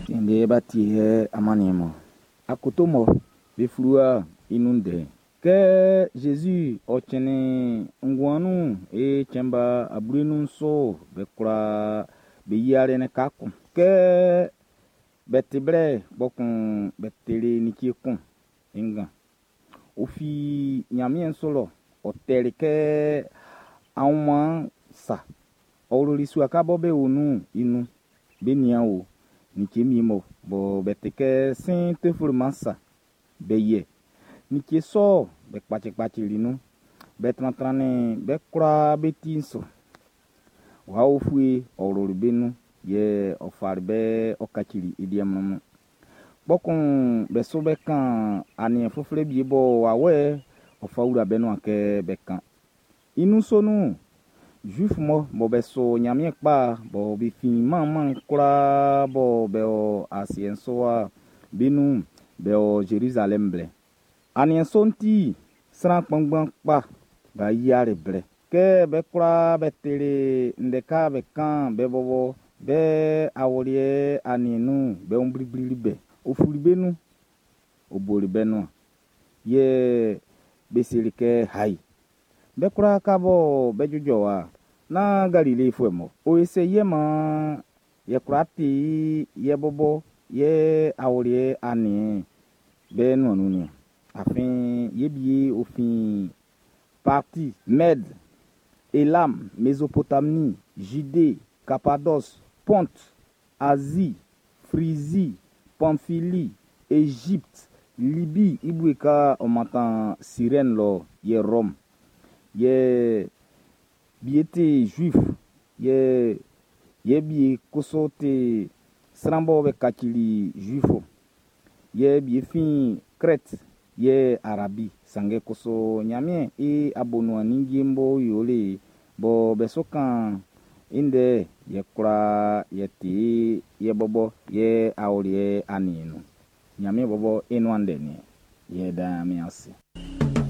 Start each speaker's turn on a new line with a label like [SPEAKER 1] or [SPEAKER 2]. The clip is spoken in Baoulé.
[SPEAKER 1] Ndɛ ba tie amanniɛn mɔ akoto mɔ be fluwa i nun ndɛ'n. Kɛ Zezi ɔ cɛnnin nguan nun e cɛn ba ablenun so be kwlaa be yiali lika kun. Kɛ be ti blɛ kpɔkun be tili like kun i ngan. Ɔ fin ɲanmiɛn su lɔ, ɔ tɛli kɛ aunmuan sa. Ɔ wluli sua kan bɔ be o nun'n i nun. Be nian o, like wie mɔ bɔ be ti kɛ sin tefleman sa be yɛ. Like sɔ'n be kpacikpacili nun. Be trantrannin be kwlaa be ti'n su. Wawɛ ufue ɔ wluli be nun, yɛ ɔ fali be ɔ kacili i liɛ mlɔnmlɔn. Kpɔkun be su be kan aniɛn uflɛ wie bɔ wawɛ ɔ fa wla be nuan kɛ be kan. I nun sɔ nun'n, Zuif mɔ bɔ be su Ɲanmiɛn kpa bɔ be fin manman kwlaa bɔ be o asiɛ'n su wa be nun'n, be o Zerizalɛm blɛ. Aniɛn sɔ'n ti sran kpanngban kpa b'a yiali blɛ. Kɛ be kwlaa be tili ndɛ ka be kan be bɔbɔ be awuliɛ aniɛn nun'n, be wun bliblili be. Ɔ fuli be nun, ɔ boli be nuan. Yɛ be seli kɛ, “Hai, be kwlaa ka bɔ be jujɔ wa, nán Galilefuɛ mɔ. O e se yɛ man yɛ kwla ti yɛ bɔbɔ yɛ awuliɛ aniɛn be nuan nun niɔn. Afin ye bie o fin Parti, Mède, Elam, Mésopotamie, Judée, Cappadoce, Ponte, Asie, Phrygie, Pamphylie, Égypte, Libye i bue ka ɔ mantan Sirɛn lɔ yɛ Rome. Yɛ bie ti Juif, yɛ yɛ bie kusu ti sran bɔ be kacili Juifo. Yɛ bie fin Krɛt yɛ Arabi. Sanngɛ kusu Ɲanmiɛn i abonuan ninnge'n b'ɔ yoli bɔ be su kan i ndɛ yɛ kwlaa yɛ ti yɛ bɔbɔ yɛ awuliɛ aniɛn nun. Ɲanmiɛn bɔbɔ i nuan ndɛ nin yɛ da Ɲanmiɛn ase.